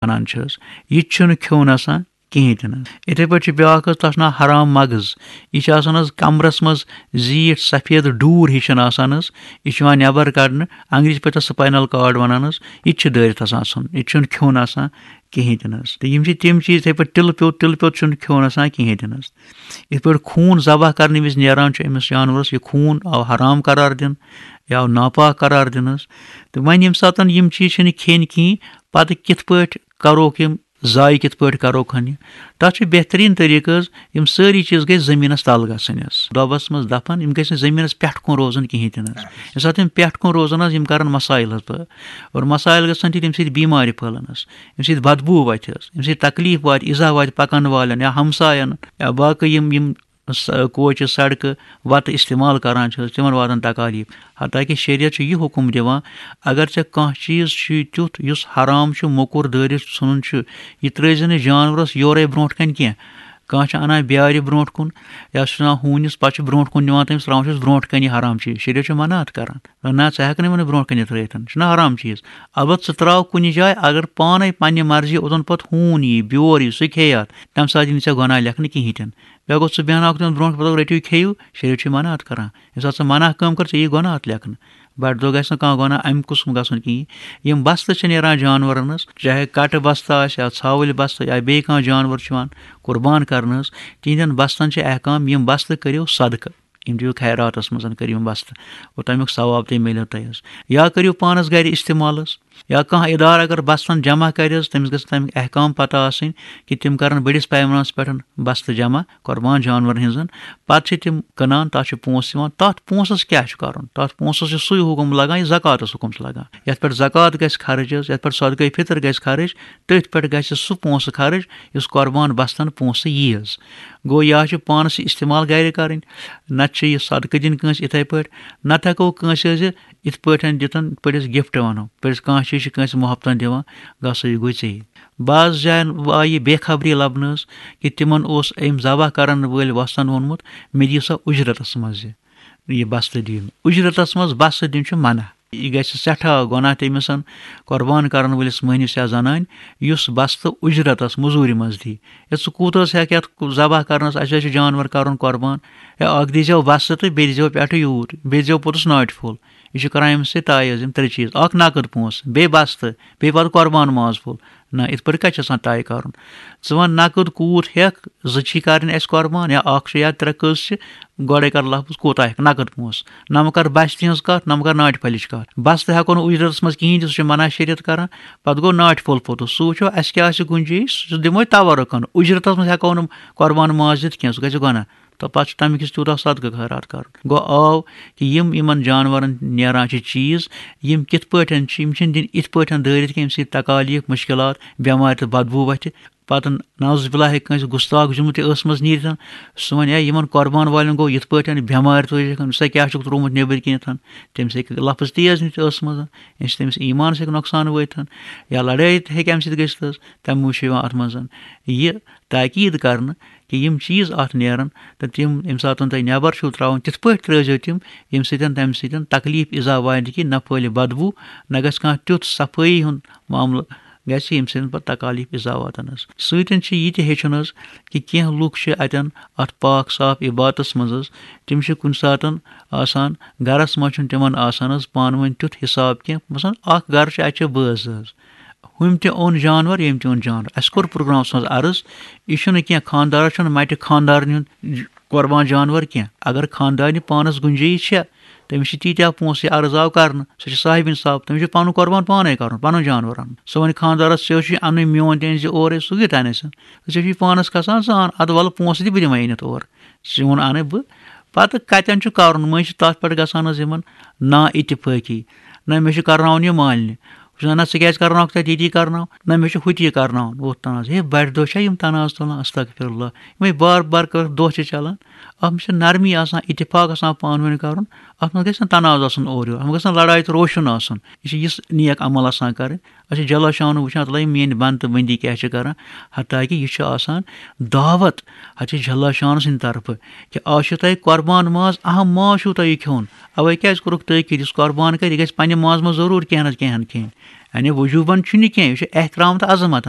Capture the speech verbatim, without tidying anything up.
وَنان چھِ حظ، یہِ تہِ چھُنہٕ کھیوٚن آسان کِہیٖنۍ تہِ نہٕ حظ۔ یِتھَے پٲٹھۍ چھُ بیٛاکھ حظ، تَتھ چھُ ناو حرام مغٕز۔ یہِ چھُ آسان حظ کَمرَس منٛز زیٖٹھ سفید ڈوٗر ہِش چھَنہٕ آسان حظ۔ یہِ چھُ یِوان نٮ۪بَر کَڑنہٕ، انگریٖزی پٲٹھۍ تَتھ spinal cord وَنان حظ۔ یہِ تہِ چھُ دٲرِتھ آسان ژھُن، یہِ تہِ چھُنہٕ کھیوٚن آسان کِہیٖنۍ تہِ نہٕ حظ۔ تہٕ یِم چھِ تِم چیٖز، یِتھَے پٲٹھۍ تِلہٕ پیوٚت، تِلہٕ پیوٚت چھُنہٕ کھیوٚن آسان کِہیٖنۍ تہِ نہٕ حظ۔ یِتھ پٲٹھۍ خوٗن ذبح کَرنہٕ وِزِ نیران چھُ أمِس جانوَرَس، یہِ خوٗن آو حرام قرار دِنہٕ، یہِ آو ناپاک قرار دِنہٕ حظ۔ تہٕ وۄنۍ ییٚمہِ ساتَن یِم چیٖز چھِنہٕ کھیٚنۍ کِہیٖنۍ، پَتہٕ کِتھ پٲٹھۍ کَروکھ یِم ضایع، کِتھ پٲٹھۍ کَروکھ ہن یہِ؟ تَتھ چھُ بہتریٖن طریٖقہٕ حظ، یِم سٲری چیٖز گٔژھۍ زٔمیٖنَس تَل گژھٕنۍ حظ، دۄبَس منٛز دَفَن، یِم گٔژھۍ نہٕ زٔمیٖنَس پٮ۪ٹھ کُن روزٕنۍ کِہیٖنۍ تہِ نہٕ حظ۔ ییٚمہِ ساتہٕ یِم پٮ۪ٹھ کُن روزَن حظ، یِم کَرَن مسایل حظ پٲدٕ، اور مسایل گژھن تہِ تَمہِ سۭتۍ بیمارِ پھٔہلَن حظ، ییٚمہِ سۭتۍ بدبوٗ وَتھِ حظ، ییٚمہِ سۭتۍ تکلیٖف واتہِ، ایٖزا واتہِ پَکَن والٮ۪ن یا ہمسایَن یا باقٕے یِم، یِم س-، کوچہِ، سڑکہٕ، وَتہٕ استعمال کران چھِ حظ، تِمن واتن تکالیٖف۔ حتیٰ کہِ شریعت چھُ یہِ حُکم دِوان، اگر ژےٚ کانٛہہ چیٖز چھُے تیُتھ یُس حرام چھُ، موٚکُر دٲرِتھ ژھُنُن چھُ، یہِ ترٛٲوزِ نہٕ جانورس یورے برونٛٹھ کنہِ کینٛہہ۔ کانٛہہ چھُ انان بیارِ برونٛٹھ کُن یا سُہ چھُ انان ہوٗنِس، پتہٕ چھُ برونٛٹھ کُن نِوان تٔمِس، ترٛاوان چھُس برونٛٹھ کنہِ، یہِ حرام چیٖز، شریعت چھُ منع اتھ کران۔ نہ، ژٕ ہٮ۪کھ نہٕ یِمن برونٛٹھ کنہِ ترٲوِتھ، یہِ چھُنہٕ حرام چیٖز۔ البتہٕ ژٕ ترٛاو کُنہِ جایہِ، اگر پانے پننہِ مرضی اوٚتن پتہٕ ہوٗن یی، بیور یی، سُہ کھیٚیہِ اتھ، تمہِ ساتہٕ یی نہٕ ژےٚ گۄناہ لیکھنہٕ کِہیٖنۍ تہِ نہٕ۔ بیٚیہِ گوٚو ژٕ بیٚہناوکھ تِمن برونٛٹھ، پتہٕ دَپَکھ، "رٔٹِو، کھیٚیِو"، شریعت چھُ منع اتھ کران۔ ییٚمہِ ساتہٕ ژٕ منع کٲم کر، ژےٚ یی گۄناہ اتھ لیکھنہٕ۔ بڑِ دۄہ گژھِ نہٕ کانٛہہ گۄناہ امہِ قٕسمُک گژھُن کِہیٖنۍ۔ یِم بستہٕ چھِ نیران جانورن ہٕنٛز، چاہے کٹہٕ بستہٕ آسہِ یا ژھاوٕلۍ بستہٕ یا بیٚیہِ کانٛہہ جانور چھُ یِوان قربان کرنہٕ حظ، تِہنٛدٮ۪ن بستن چھِ احکام، یِم بستہٕ کٔرِو صدقہٕ، یِم دِیِو خیراتس منٛز، کٔرِو یِم بستہٕ، اور تمیُک ثواب تہِ میلِو تۄہہِ حظ۔ یا کٔرِو پانس گرِ استعمال حظ۔ یا کانٛہہ ادارٕ اگر بستن جمع کرِ حظ، تٔمِس گژھِ تمیُک احکام پتہ آسٕنۍ کہِ تِم کرن بٔڑِس پیمانس پٮ۪ٹھ بستہٕ جمع قربان جانورن ہٕنٛزن۔ پتہٕ چھِ تِم کٕنان، تتھ چھِ پونٛسہٕ یِوان۔ تتھ پونٛسس کیٛاہ چھُ کرُن؟ تتھ پونٛسس چھُ سُے حُکم لگان، یہِ زکواتس حُکم چھُ لگان۔ یتھ پٮ۪ٹھ زکوات گژھِ خرٕچ حظ، یتھ پٮ۪ٹھ صدقے فطر گژھِ خرٕچ، تٔتھۍ پٮ۪ٹھ گژھِ سُہ پونٛسہٕ خرٕچ، یُس قربان بستن پونٛسہٕ یی حظ۔ گوٚو، یا چھُ پانس یہِ استعمال گرِ کرٕنۍ، نتہٕ چھُ یہِ صدقہٕ دِنۍ کٲنٛسہِ یِتھے پٲٹھۍ، نتہٕ ہٮ۪کو کٲنٛسہِ حظ یہِ یِتھ پٲٹھۍ دِتن، یِتھ پٲٹھۍ أسۍ gift ونو، یِتھ پٲٹھۍ أسۍ کانٛہہ چیٖز چھِ کٲنٛسہِ محبتن دِوان، گژھو یہِ گوٚو ژےٚ۔ بعض جاین آیہِ یہِ بے خبری لبنہٕ حظ، کہِ تِمن اوس أمۍ ذبح کرن وٲلۍ وۄستن ووٚنمُت، "مےٚ دِیِو سا اُجرتس منٛز یہِ، یہِ بستہٕ دِیِو مےٚ۔" اُجرتس منٛز بستہٕ دیُن چھُ منع۔ یہِ گژھِ سٮ۪ٹھاہ گۄناہ تٔمِس، قۄربان کرن وٲلِس مٔہنِس یا زنانہِ، یُس بستہٕ اُجرتس، مٔزوٗرِ منٛز دی۔ ہے، ژٕ کوٗت حظ ہٮ۪کھ یتھ ذبح کرنس، اسہِ حظ چھُ جانور کرُن قۄربان، ہے، اکھ دیٖزیو بستہٕ تہٕ بیٚیہِ دیٖزیو پٮ۪ٹھٕ یوٗت، بیٚیہِ دیٖزیو پوٚتُس ناٹہِ پھوٚل۔ یہِ چھُ کران أمِس سۭتۍ طے حظ، یِم ترٛےٚ چیٖز، اکھ نقد پونٛسہٕ، بیٚیہِ بستہٕ، بیٚیہِ پتہٕ قۄربان ماز پھوٚل۔ نہ، یِتھ پٲٹھۍ کتہِ چھُ آسان طے کرُن؟ ژٕ وَن نقد کوٗت ہٮ۪کھ، زٕ چھی کرٕنۍ اَسہِ قۄربان یا اکھ چھُ یا ترٛےٚ کٔژ چھِ، گۄڈَے کر لفظ کوٗتاہ ہٮ۪کھ نقد پونٛسہٕ۔ نہ مہ کر بستہِ ہٕنٛز کَتھ، نہ مہ کر ناٹہِ پھٔلِچ کَتھ۔ بستہٕ ہٮ۪کو نہٕ اُجرتَس منٛز کِہیٖنۍ دِتھ، سُہ چھُ منع شریعت کران۔ پتہٕ گوٚو ناٹہِ پھوٚل پوٚتُس، سُہ وٕچھو اَسہِ کیٛاہ آسہِ گُنجٲیِش، سُہ دِمو أسۍ تبرُکن۔ اُجرتَس منٛز ہٮ۪کو نہٕ قۄربان ماز دِتھ کینٛہہ، سُہ گژھِ گۄناہ۔ تہٕ پتہٕ چھُ تَمہِ کِس تیوٗتاہ صدقہٕ خٲرات کرُن۔ گوٚو آو کہِ یِم یِمن جانورن نیران چھِ چیٖز، یِم کِتھ پٲٹھۍ چھِ، یِم چھِنہٕ دِنۍ یِتھ پٲٹھۍ دٲرِتھ کینٛہہ، ییٚمہِ سۭتۍ تکالیٖف، مُشکِلات، بٮ۪مارِ تہٕ بدبوٗ وَتھِ۔ پتہٕ نعوذ باللہ ہیٚکہِ کٲنٛسہِ گُستاخ جُملہٕ تہِ ٲسہٕ منٛز نیٖرِتھ۔ سُہ وَنہِ، "ہے، یِمن قۄربان والٮ۪ن گوٚو یِتھ پٲٹھۍ، بٮ۪مارِ تُج ہیٚکن، ژےٚ کیٛاہ چھُکھ ترٛوومُت نیٚبٕرۍ کِنٮ۪تھ؟" تٔمِس ہیٚکہِ لفظ تیز نِتھ ٲسہٕ منٛز، ییٚمہِ سۭتۍ تٔمِس ایٖمانس ہیٚکہِ نۄقصان وٲتِتھ، یا لڑٲے تہِ ہیٚکہِ اَمہِ سۭتۍ گٔژھِتھ حظ۔ تَمہِ موٗجوٗب چھُ یِوان اَتھ منٛز یہِ تاکیٖد کرنہٕ کہِ یِم چیٖز اَتھ نیرَن تہٕ تِم ییٚمہِ ساتَن تُہۍ نٮ۪بَر چھِو ترٛاوان، تِتھ پٲٹھۍ ترٛٲوزیٚو تِم، ییٚمہِ سۭتۍ، تَمہِ سۭتۍ تکلیٖف اِزا واتہِ کہِ نہ پھٲلہِ بدبوٗ، نہ گژھِ کانٛہہ تیُتھ صفٲیی ہُنٛد معاملہٕ گژھِ، ییٚمہِ سۭتۍ پَتہٕ تکالیٖف اِزا واتَن حظ۔ سۭتۍ چھِ یہِ تہِ ہیٚچھُن حظ کہِ کینٛہہ لُکھ چھِ اَتٮ۪ن اَتھ پاک صاف عبادتَس منٛز حظ، تِم چھِ کُنہِ ساتَن آسان، گَرَس منٛز چھُنہٕ تِمَن آسان حظ پانہٕ ؤنۍ تیُتھ حِساب کینٛہہ، مثلاً اَکھ گَرٕ چھُ، اَتہِ چھِ بٲژ حظ، ہُمۍ تہِ اوٚن جانور، ییٚمۍ تہِ اوٚن جانور۔ اَسہِ کوٚر پروگرامَس منٛز عرض، یہِ چھُنہٕ کینٛہہ، خانٛدارَس چھُنہٕ مَٹہِ خانٛدارنہِ ہُنٛد ج-، قۄربان جانور کینٛہہ۔ اگر خانٛدارنہِ پانَس گُنجٲیِش چھےٚ، تٔمِس چھِ تیٖتیٛاہ پونٛسہٕ، یہِ عرض آو کرنہٕ، سُہ چھُ صاحبِ انصاف، تٔمِس چھُ پَنُن قۄربان پانَے کَرُن، پَنُن جانور اَنُن۔ سُہ وَنہِ خانٛدارَس، "ژےٚ چھُے اَنٕنۍ، میون تہِ أنۍ زِ اورَے"، سُہ کیُتھ اَنہِ اَسہِ؟ ژےٚ چھُے پانَس کھسان، ژٕ اَن، اَدٕ وَلہٕ پونٛسہٕ دِ، بہٕ دِمَے أنِتھ اورٕ۔ چون اَنَے بہٕ۔ پَتہٕ کَتٮ۪ن چھُ کَرُن؟ مٔنٛزۍ چھِ تَتھ پٮ۪ٹھ گژھان حظ یِمَن نا اتفٲقی۔ نہ، مےٚ چھُ کَرناوُن یہِ مالنہِ۔ وٕچھ نہ، ژٕ کیٛازِ کَرناوَکھ تَتہِ ییٚتی کَرناو؟ نہ، مےٚ چھُ ہُتہِ یہِ کَرناوُن، ہُتھ تَنازٕ۔ ہے، بَڑِ دۄہ چھا یِم تَنازٕ تُلان؟ استغفر اللہ۔ یِمَے بار بار کٔرٕکھ دۄہ چھِ چَلان۔ اَتھ منٛز چھِ نرمی آسان، اتفاق آسان پانہٕ ؤنۍ کَرُن۔ اَتھ منٛز گژھِ نہٕ تنازٕ آسُن اورٕ یورٕ، اَتھ منٛز گژھِ نہٕ لڑایہِ تہٕ روشُن آسُن۔ یہِ چھِ یِژھ نیک عمل آسان کَرٕنۍ۔ أسۍ چھِ جل شانہٕ وٕچھان، تَلہ یِم میٛٲنۍ بنٛدٕ تہٕ بٔندی کیٛاہ چھِ کَران، حتیٰ کہِ یہِ چھُ آسان دعوت حضرت جل شانہٕ سٕنٛدِ طرفہٕ کہِ آز چھُ تۄہہِ قۄربان ماز، اَہَم ماز چھُو تۄہہِ یہِ کھیوٚن۔ اَوَے کیٛازِ کوٚرُکھ تٲکیٖد، یُس قۄربان کَرِ، یہِ گژھِ پنٛنہِ مازٕ منٛز ضروٗر کینٛہہ نَتہٕ کینٛہہ ہَن کھیٚنۍ۔ یعنی وجوٗبن چھُنہٕ یہِ کینٛہہ، یہِ چھُ احترام تہٕ عظمتن۔